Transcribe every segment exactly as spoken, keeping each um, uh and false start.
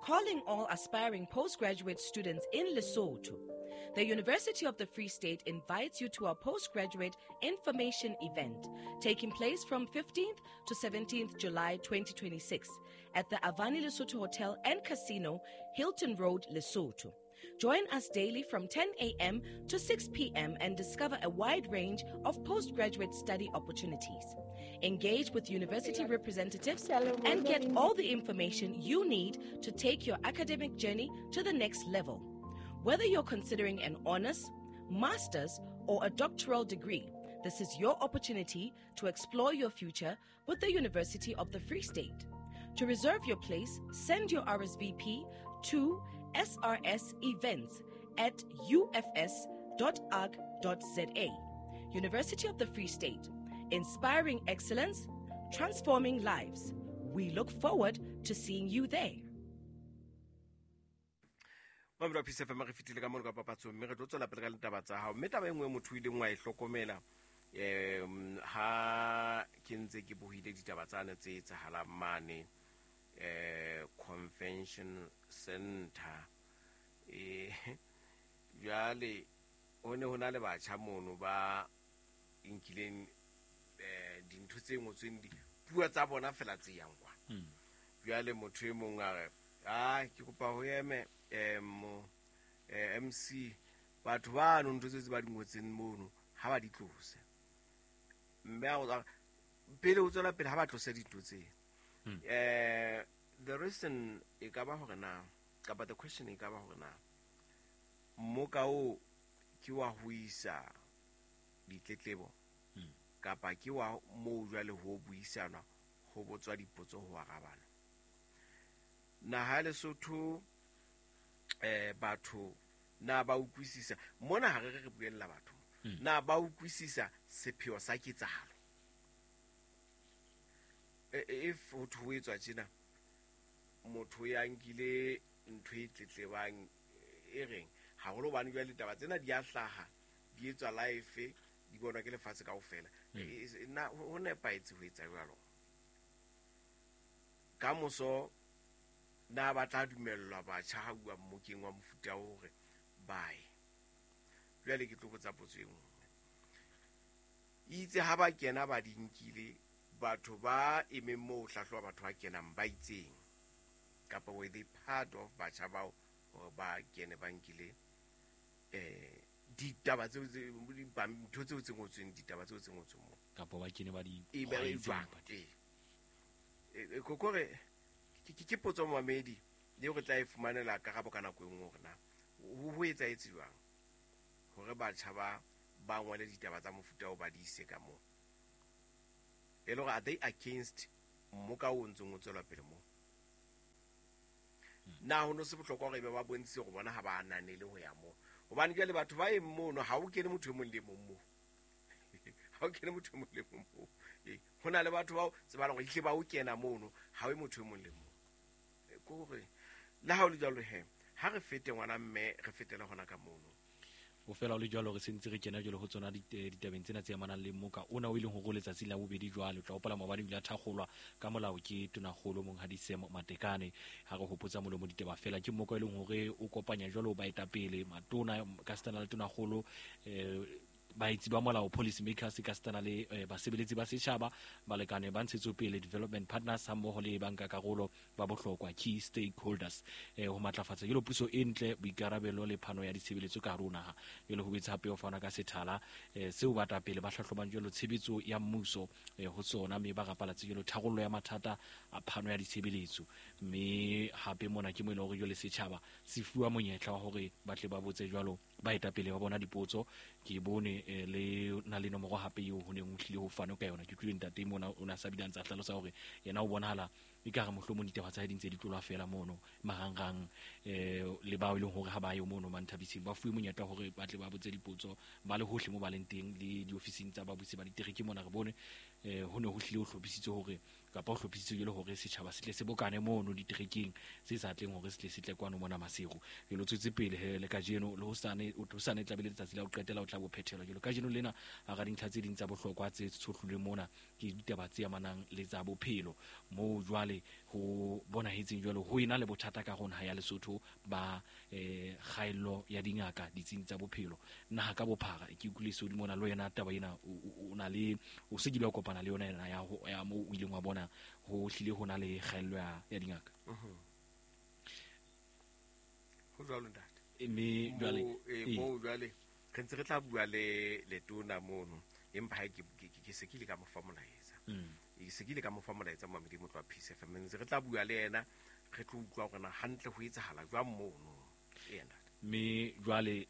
Calling all aspiring postgraduate students in Lesotho. The University of the Free State invites you to our postgraduate information event taking place from fifteenth to seventeenth July twenty twenty-six at the Avani Lesotho Hotel and Casino, Hilton Road, Lesotho. Join us daily from ten a.m. to six p.m. and discover a wide range of postgraduate study opportunities. Engage with university representatives and get all the information you need to take your academic journey to the next level. Whether you're considering an honors, master's, or a doctoral degree, this is your opportunity to explore your future with the University of the Free State. To reserve your place, send your R S V P to S R S events at U F S dot org dot Z A. University of the Free State, inspiring excellence, transforming lives. We look forward to seeing you there. Mamelo P C F M re fitile ka mono ka papatsong mme re tlo tswela pele ka ditaba tsa hao. Mme taba e nngwe motho o ileng wa e hlokomela um ha ke ntse ke bohile ditaba tsane tse etsahalang mane eh convention center eh jwale ho ne ho na le batjha mono ba nkileng eh dintho tse ngotsweng di puo tsa bona fela tse yang kwa. Jwale motho e mong a re ah ke kopa ho eme em M C batho ba no ntho tse ba di ngotseng mono ha ba di tlose mme a pele o tswela pele ha ba tlose dintho tse. Eh the reason e ka ba hore na kapa the question e ka ba hore na mmoka o ke wa ho isa ditletlebo kapa ke wa moo jwale ho buisanwa ho botswa dipotso ho arabana. Naha ya Lesotho eh batho na ba utlwisisa mona ha re re buella batho na ba utlwisisa sepheo sa ketsahalo. If ho ho etswa tjena motho ya nkile ntho e tletlebang e reng haholo bane jwale ditaba tsena di a hlaha di etswa live di bonwa ke lefatshe kaofela na ho nepahetse ho etsa jwalo ka moso na ba tla dumellwa batjha ha bua mmokeng wa mofuta o hore bae. Jwale ke tlo botsa potso e nngwe itse ha ba kena ba di nkile batho ba emeng moo hlahloba batho ba kenang ba itseng kapa were they part of batjha bao hore ba kene ba nkile eh ditaba tseo ntho tseo tse ngotsweng ditaba tseo tse ngotsweng moo kapa ba kene ba di e ba jwang e kokore ke potso mamedi le re tla e fumanela karabo ka nako e nngwe hore na ho etsahetse jwang hore batjha ba ba ngole ditaba tsa mofuta o ba di ise ka moo e le hore are they against mmoka o ntseng o tswela pele moo na ho no se bohlokwa hore ebe ba bontshitse hore bona ha ba ananele ho ya moo hobane jwale batho ba eng mono ha o kene motho e mong le mong moo ha o kene motho e mong le mong moo ho na le batho bao tsebalang hore ehlile ba o kena mono ha o motho e mong le mong kore le ha o le jwalo he ha re fete ngwana mme re fetela hona ka mono o fela o le jwalo re sentse re kena jwalo ho tsona ditabeng tsena tse amanang le mmoka ona o ileng hore letsatsi la bobedi jwale o tla hopola maobane o ile a thakgolwa ka molao ke tonakgolo Monghadi Sam Matekane ha re hopotsa molomo ditaba fela ke mmoka e leng hore o kopanya jwalo baetapele matona ka setana le tonakgolo eh baetsi ba molao policy makers ka setana le basebeletsi ba setjhaba balekane ba ntshetsopele development partners hammoho le banka karolo ba bohlokwa key stakeholders eh ho matlafatsa jelo puso e ntle boikarabelo le phano ya ditshebeletso ka hare ho naha jelo ho boetse hape ho fana ka sethala seo batapele ba hlahlobang jelo tshebetso ya mmuso ho tsona mme ba rapalatse jelo tharollo ya mathata a phano ya ditshebeletso mme hape mona ke mo ile hore jelo setjhaba se fuwa monyetla wa hore ba tle ba botse jwalo baetapele ba bona dipotso ke bone le na le nomoro hape eo ho neng o tlile ho fana ka yona ke utlwile ntate mona o na sa bile ntse a hlalosa hore yena o bonahala e ka re mohlomong ditaba tsa hae di ntse di tlolwa fela mono marangrang eh le bao e leng hore ha ba yo mono manthabiseng ba fuwe monyetla hore ba tle ba botse dipotso ba le hohle mo ba leng teng le diofising tsa babusi ba ditereke mona re bone eh ho ne ho hlile ho hlophisitswe hore kapa ho hlophisitswe jelo hore setjhaba se tle se bokane mono diterekeng se sa tleng hore se tle se tle kwano mona Maseru jelo tswetse pele he le kajeno le hosane o hosane tla be le letsatsi la ho qetela o tla bo phethela jelo kajeno lena hara dintlha tse ding tsa bohlokwa tse tshohlilweng mona ke ditaba tse amanang le tsa bophelo moo jwale ho bonahetseng jwalo ho ena le bothata ka rona ya Lesotho ba eh kgaello ya dingaka ditsing tsa bophelo naha ka bophara. Ke utlwile so di mona le yena taba ena o na le o se kile wa kopana le yona ena ya ya mo o ileng wa bona ho hlile ho na le kgaello ya ya dingaka. Ho jwalo ntate. Mme jwale mo jwale re ntse re tla bua le letona mono empa ha ke ke se kile ka mo fa molaetsa. E se kile ka mo fa molaetsa Mamedi Motlo wa Peace F M ntse re tla bua le yena re tlo utlwa hore na hantle ho etsahala jwang mono yena. Mme jwale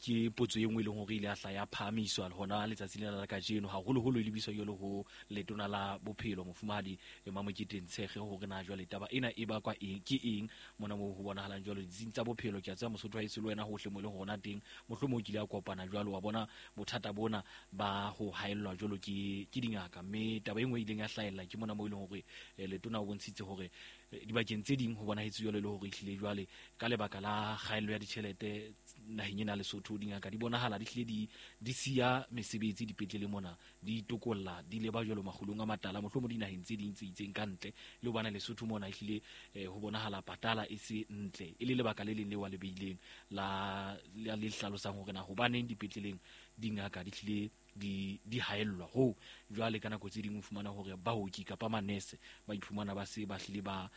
ke potso e nngwe e leng hore ile a hla ya phahamiswa hona letsatsi lena la kajeno haholoholo e lebiswa jwalo ho letona la bophelo mofumahadi Mamokete Ntshege hore na jwale taba ena e bakwa eng ke eng mona moo ho bonahalang jwalo ditsing tsa bophelo. Ke a tseba Mosotho ha ese le wena hohle mo e leng hona teng mohlomong o kile a kopana jwalo wa bona bothata bona ba ho haellwa jwalo ke ke dingaka. Mme taba e nngwe e ileng ya hlahella ke mona moo e leng hore letona o bontshitse hore dibakeng tse ding ho bonahetse jwalo le hore ehlile jwale ka lebaka la kgaello ya ditjhelete naheng ena Lesotho dingaka di bonahala di hlile di di siya mesebetsi dipetlele mona di itokolla di leba jwalo makgulong a matala mohlomong dinaheng tse ding tse itseng ka ntle le ho bana Lesotho mona ehlile ho bonahala patala e se ntle e le lebaka le leng le wa le beileng la le hlalosang hore na hobaneng dipetleleng dingaka di hlile di di haellwa ho jwale ka nako tse ding o fumana hore baoki kapa manese ba iphumana ba se ba hlile ba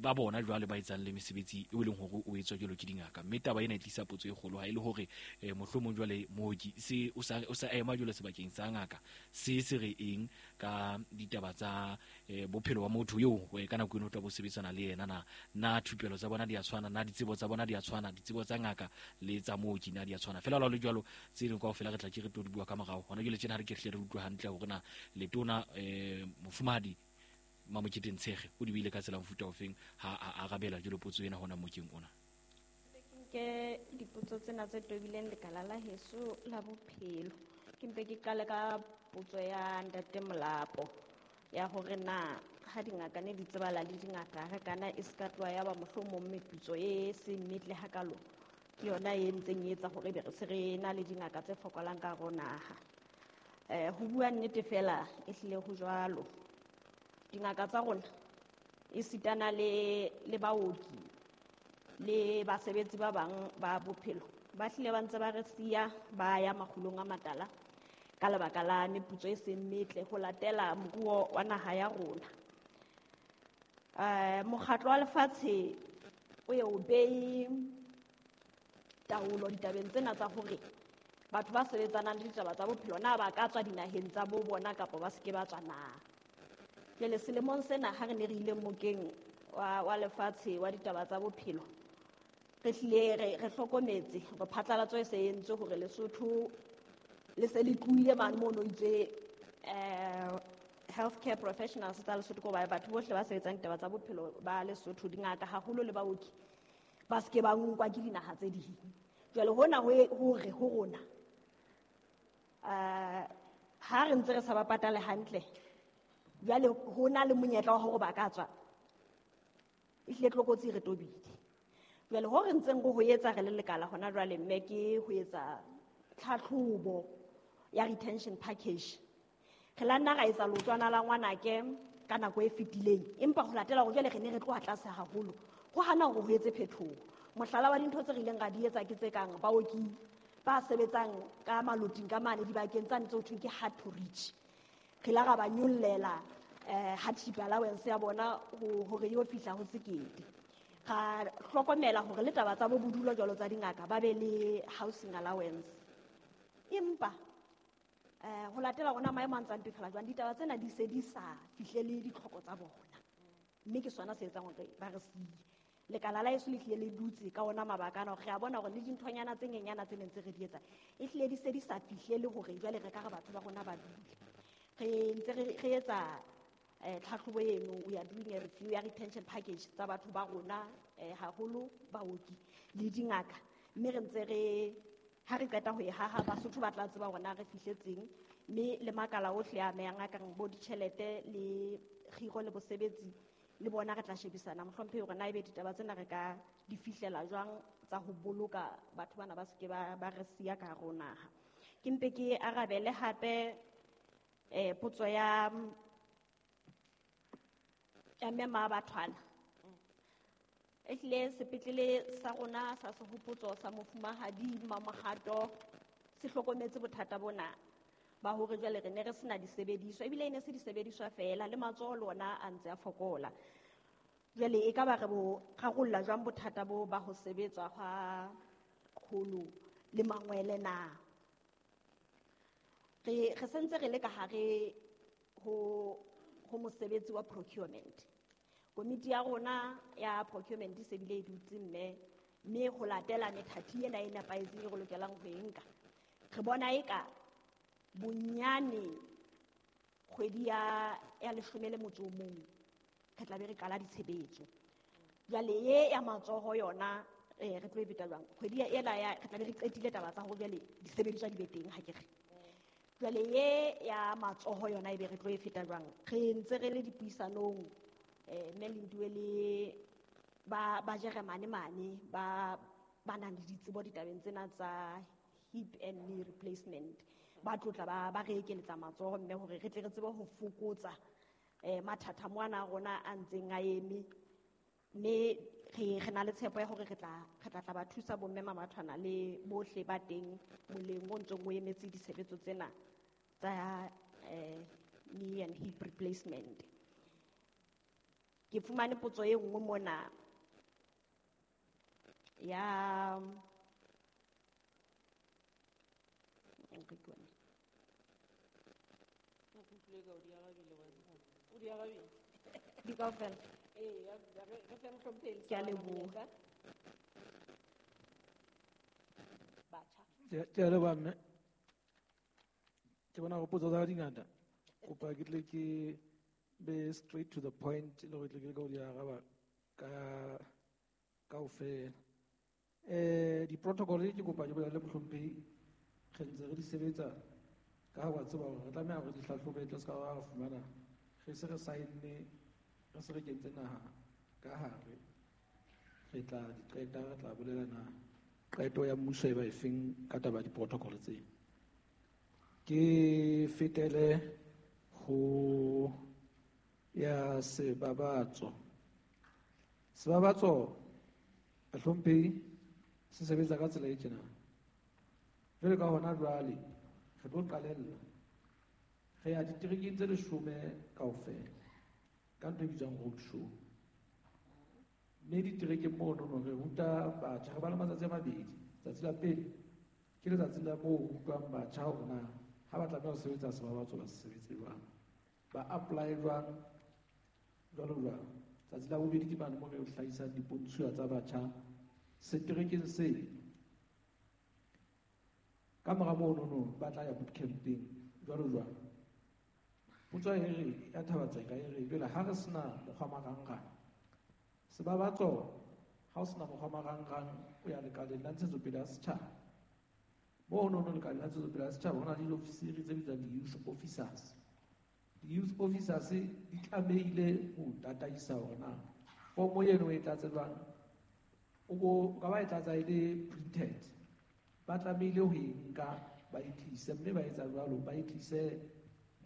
ba bona jwale ba etsang le mesebetsi e leng hore o etswa jwalo ke dingaka. Mme taba ena e tlisa potso e kgolo ha e le hore mohlomong jwale mooki se o sa o sa ema jwalo sebakeng sa ngaka se se re eng ka ditaba tsa bophelo ba motho eo ka nako eno o tla bo sebetsana le yena na na thupelo tsa bona di a tshwana na ditsebo tsa bona di a tshwana ditsebo tsa ngaka le tsa mooki na di a tshwana fela le jwalo tse ding kaofela re tla ke re tlo di bua ka morao. Hona jwale tjena ha re ke hle re utlwe hantle hore na letona eh mofumahadi Mamokete Ntshege o di buile ka tsela mofuta ofeng ha a arabela jwalo potso ena hona mokeng ona. Ke dipotso tsena tse tobileng lekala la heso la bophelo. Ke mpe ke qale ka potso ya ntate Molapo ya hore na ha dingaka ne di tsebala le dingaka re kana e ska tloha ya ba mohlomong meputso e se metle hakalo ke yona e ntseng e etsa hore be re se re na le dingaka tse fokolang ka hare ho naha. Eh ho bua nnete fela e hlile ho jwalo. Dingaka tsa rona e sitana le le baoki le basebetsi ba bang ba bophelo ba hlile ba ntse ba re siya ba ya makgulong a matala ka lebaka la meputso e seng metle ho latela moruo wa naha ya rona. Eh mokgatlo wa lefatshe o ye o behe taolo ditabeng tsena tsa hore batho ba sebetsanang le ditaba tsa bophelo na ba ka tswa dinaheng tsa bo bona kapa ba seke ba tswa na. Jwale selemong sena ha re ne re ile mokeng wa wa lefatshe wa ditaba tsa bophelo re hlile re re hlokometse hore phatlalatso e se entswe hore Lesotho le se le tlohile mane mono itse eh healthcare professionals tsa Lesotho ko ba batho bohle ba sebetsang ditaba tsa bophelo ba Lesotho dingaka haholo le baoki ba seke ba nkwa ke dinaha tse ding. Jwale hona ho hore ho rona eh ha re ntse re sa ba patale hantle jwale ho na le monyetla wa hore ba ka tswa e hlile tlokotsi re tobile. Jwale ho re ntseng go ho etsa re le lekala hona jwale mme ke ho etsa tlhatlhobo ya retention package. Re la nna ra etsa lotswana la ngwanake ka nako e fetileng empa ho latela hore jwale re ne re tloha tlase haholo ho hana hore ho etse phetoho. Mohlala wa dintho tse re ileng ra di etsa ke tse kang baoki ba sebetsang ka maloting ka mane dibakeng tsane tse ho thweng ke hard to reach. Re la ra ba nyollela eh hardship allowance ya bona hore yo fihla ho sekete. Ra hlokomela hore le taba tsa bo bodulo jwalo tsa dingaka ba be le housing allowance. Empa eh ho latela rona maemo a ntsang mpefela jwang ditaba tsena di se di sa fihlele ditlhoko tsa bona. Mme ke sona se etsang hore ba re siye. Lekala la heso le hlile le dutse ka ona mabaka ana hore re a bona hore le dinthonyana tse nyenyana tse neng tse re di etsa e hlile di se di sa fihlele hore jwale re ka re batho ba rona ba dule. Re ntse re re etsa eh tlhatlhobo eno, we are doing a review ya retention package tsa batho ba rona eh haholo baoki le dingaka mme re ntse re ha re qeta ho e haha Basotho ba tla tseba hore na re fihletseng mme le makala ohle a amehang a kang bo ditjhelete le kgiro le bosebetsi le bona re tla shebisana mohlomphehi hore na ebe ditaba tsena re ka di fihlela jwang tsa ho boloka batho bana ba seke ba ba re siya ka hare ho naha. Ke mpe ke arabele hape eh potso ya Ya mme Mabathwana. Ehlile sepetlele sa rona sa sehopotso sa mofumahadi Mamohato se hlokometse bothata bona ba hore jwale re ne re sena disebediswa, ebile e ne se disebediswa feela, le matsoho le ona a ntse a fokola. Jwale e ka ba re bo rarolla jwang bothata bo ba ho sebetswa hwa kgolo le mangwele na? Re, re sentse re le ka hare ho, ho mosebetsi wa procurement. Komiti ya rona ya procurement e se bile e dutse mme, mme ho latela methati ena e nepahetseng e re lokelang ho e nka. Re bona eka bonyane kgwedi ya, ya leshome le motso o mong re tla be re qala ditshebetso. Jwale e ya matsoho yona, eh, re tlo e feta jwang? Kgwedi ya ela ya, re tla be re qetile taba tsa hore jwale disebediswa di be teng, ha ke re. Jwale e ya matsoho yona e be re tlo e feta jwang? Re ntse re le dipuisanong, eh, mme Lindiwe le ba, ba Jeremane mane, ba, ba nang le ditsebo ditabeng tsena tsa hip and knee replacement. Ba tlotla ba, ba re ekeletsa matsoho mme hore re tle re tsebe ho fokotsa, eh, mathata moana a rona a ntseng a eme. Mme re, re na le tshepo ya hore re tla, re tla tla ba thusa bomme Mamathwana le bohle ba teng moleng o ntseng o emetse ditshebetso tsena tsa, eh, knee and hip replacement. Ke fumane potso e nngwe mona ya, Di kaofela. Ke a leboha. Ke a leboha mme. Ke bona hore potso tsa ka di ngata. Kopa ke tle ke be straight to the point le hore tle ke leke ho di araba ka kaofela. Eh, di-protocol ke kopa ke bolele mohlomphehi, re ntse re di sebetsa ka ha wa tseba hore re tlameha hore di hlahlobe tle se ka ra fumana re se re sign-ne, re se re kentse naha ka hare, re tla di qeta, re tla bolela na qeto ya mmuso e ba efeng ka taba ya di-protocol tse. Ke fetele ho ya Sebabatso. Sebabatso, bahlomphehi, se sebetsa ka tsela e tjena. Jwale ka hona jwale re tlo qalella re ya diterekeng tse leshome kaofela ka ntho e bitswang road show. Mme diterekeng monono re ruta batjha, re ba le matsatsi a mabedi. Tsatsi la pele ke letsatsi la moo ho rutwang batjha hore na ha ba tlameha ho sebetsa Sebabatso ba se sebetse jwang, ba apply jwang, jwalo jwalo. Tsatsi la bobedi ke mane moo re hlahisang dipontshuwa tsa batjha seterekeng se. Ka mora monono ba tla ya bootcampeng jwalo jwalo. Potso e re ya Thabatseka e re jwale ha re sena mokgwa marangrang, Sebabatso ha o sena mokgwa marangrang o ya lekaleng la ntshetsopele ya setjhaba. Monono lekaleng la ntshetsopele ya setjhaba ho na le diofisiri tse bitswang di-youth officers. Di-youth officers di tlamehile ho tataisa hore na fomo eno e tlatse jwang, o bo ka ba e tlatsa e le printed. Ba tlamehile ho e nka ba e tlise, mme ba etsa jwalo, ba e tlise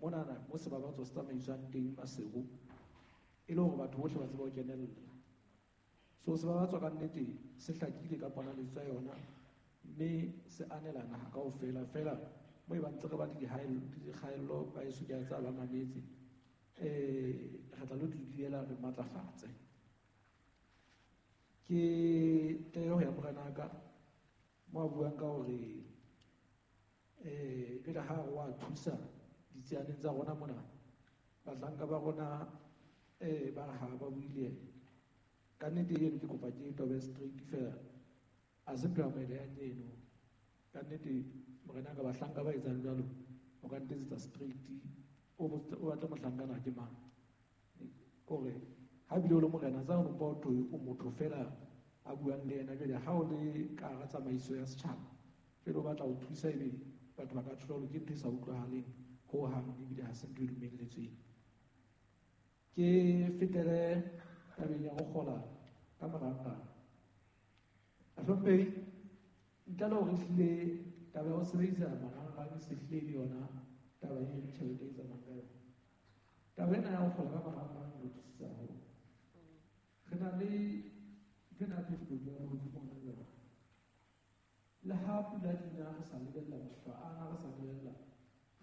monana mo Sebabatso se tsamaiswang teng Maseru, e le hore batho bohle ba tsebe ho kenella. So Sebabatso ka nnete se hlakile ka ponaletso ya yona, mme se anela naha kaofela. Feela mo e bang ntse re ba le dikgaello ba eso ke a tseba ba mametse, eh, re tla lo di duela re matlafatse. Ke tle ho ya morenaka mo a buang ka hore, eh, jwale ha re wa thusa ditsianeng tsa rona mona, bahlanka ba rona, eh, ba re ha ba buile. Ka nnete eno ke kopa ke tobe straight feela, ha se ntho ya moeleyang eno. Ka nnete morenaka, bahlanka ba etsang jwalo, o ka ntetsetsa straight, o o batle mohlankana ke mang. Kore ha bile o le morena, tsa o mpa o thwe o motho feela a buang le yena. Jwale ha o le ka hara tsamaiso ya setjhaba, jwale o batla ho thusa, ebe batho ba ka thola hore ke ntho e sa utlwahaleng hohang, ebile ha se ntho e dumelletsweng. Ke fetele tabeng ya ho kgola ka marangrang. Bahlomphehi, ntle le hore ehlile taba ya ho sebedisa marangrang e se hlile e le yona taba e tjhelete e tsamayang ka yona. Taba ena ya ho kgola ka marangrang e re thusitse haholo. Re na le ntho ena ya phefumoloho ya lehodimo hona jwale. Le ha pula di na re sa lebella mahlwa ana, re sa lebella,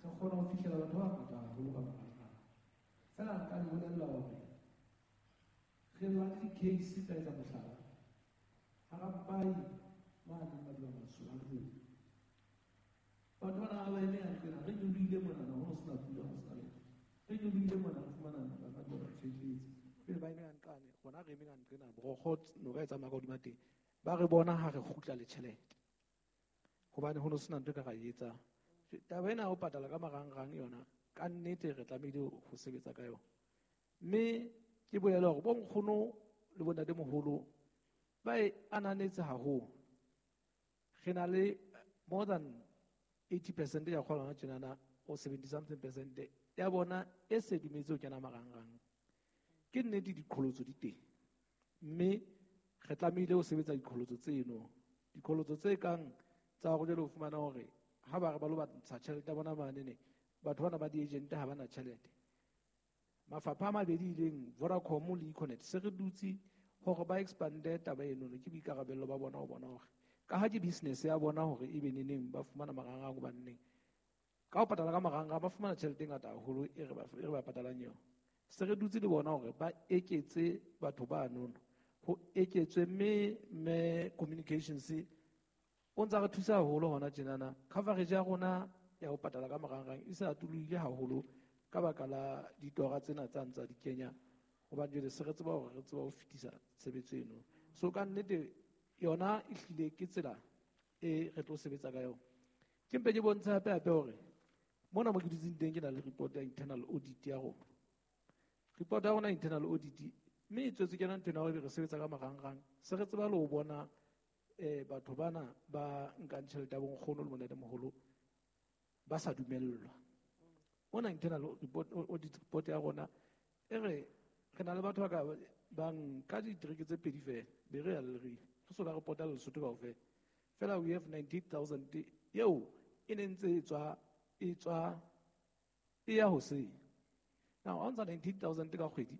re kgona ho fihlela batho ba bangata haholo ka marangrang. Feela nka le bolella hore re na le di-case tsa etsa mohlala. Hara Mpai mane Madiba-Matsho ha Ndlovu. Batho bana ha ba eme hantle na, re nyolohile monana, ho no sena pula, ho sena letho. Re nyolohile mona, re fumana ba ba tshwelletse. Pele ba eme ka nqane, rona re eme ka nqena, borokgo noka e tsamaya ka hodima teng. Ba re bona ha re kgutla le tjhelete. Hobane ho no sena ntho e ka ra e etsang. Taba ena ya ho patala ka marangrang yona, ka nnete re tlamehile ho sebetsa ka yona. Mme ke bolela hore bo nkgono le bo ntatemoholo ba e ananetse haholo. Re na le more than eighty percent ya kgolwa hona tjenana, or seventy something percent ya bona e se dumetse ho kena marangrang. Ke nnete diqholotso di teng, mme re tlamehile ho sebetsa diqholotso tseno. Diqholotso tse kang tsa hore jwale o fumana hore ha ba re ba lo ntsha tjhelete ya bona manene, batho bana ba di-agent ha ba na tjhelete. Mafapha a mabedi ileng Vodacom le Econet se re dutse hore ba expande taba eno, ke boikarabello ba bona ho bona hore ka ha ke business ya bona hore ebe neneng ba fumana marangrang hobaneng. Ka ho patala ka marangrang ba fumana tjhelete e ngata haholo e re ba, e re ba patalang yona. Se re dutse le bona hore ba eketse batho ba nono, ho eketswe mme, mme communications o ntsa re thusa haholo hona tjenana. Coverage ya rona ya ho patala ka marangrang e se atolohile haholo ka baka la ditora tsena tsa ntsa di kenya, hobane jwale se re tseba hore re tseba ho fetisa tshebetso eno. So ka nnete yona e hlile ke tsela e re tlo sebetsa ka yona. Ke mpe ke bontshe hape hape hore mona mo ke dutseng teng ke na le report ya internal audit ya rona. Report ya rona internal audit mme e tswetse ke yona ntho ena hore re sebetsa ka marangrang. Se re tseba le ho bona, eh, batho bana ba nkang tjhelete ya bo nkgono le bo ntatemoholo ba sa dumellwa. Mona internal report, audit report ya rona e re re na le batho ba ka bang ka ditereke tse pedi fela, be re ya Leribe. Re so ka report-a Lesotho kaofela. Fela we have ninety-eight thousand eo e ne ntse e tswa, e tswa e ya hoseng. Now, ha o ntsha ninety-eight thousand ka kgwedi,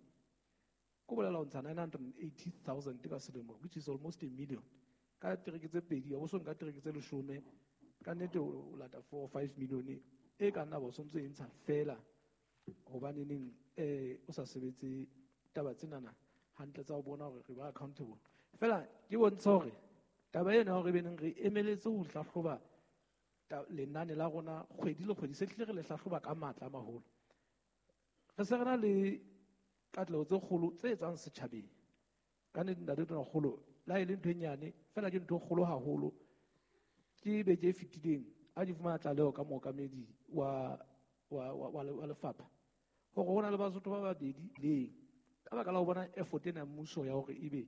ko bolela o ntsha nine hundred and eighty thousand ka selemo, which is almost a million. Ka tereke tse pedi, ha bo so nka tereke tse leshome, ka nnete o lata four or five million e ka nna ba o sontso e ntsha fela hobaneneng, eh, o sa sebetse taba tsenana hantle tsa ho bona hore re ba accountable. Fela ke bontsha hore taba ena hore e beneng re emeletse ho hlahloba ta-, lenane la rona kgwedi le kgwedi, se hlile re le hlahloba ka matla a maholo. Re se re na le katleho tse kgolo tse tswang setjhabeng. Ka nnete ntate Tonakgolo, le ha e le ntho e nyane, fela ke ntho e kgolo haholo. Ke beke e fetileng ha ke fumana tlaleho ka mookamedi wa, wa, wa, wa, wa lefapha hore ho na le Basotho ba babedi leng ka baka la ho bona effort ena ya mmuso ya hore ebe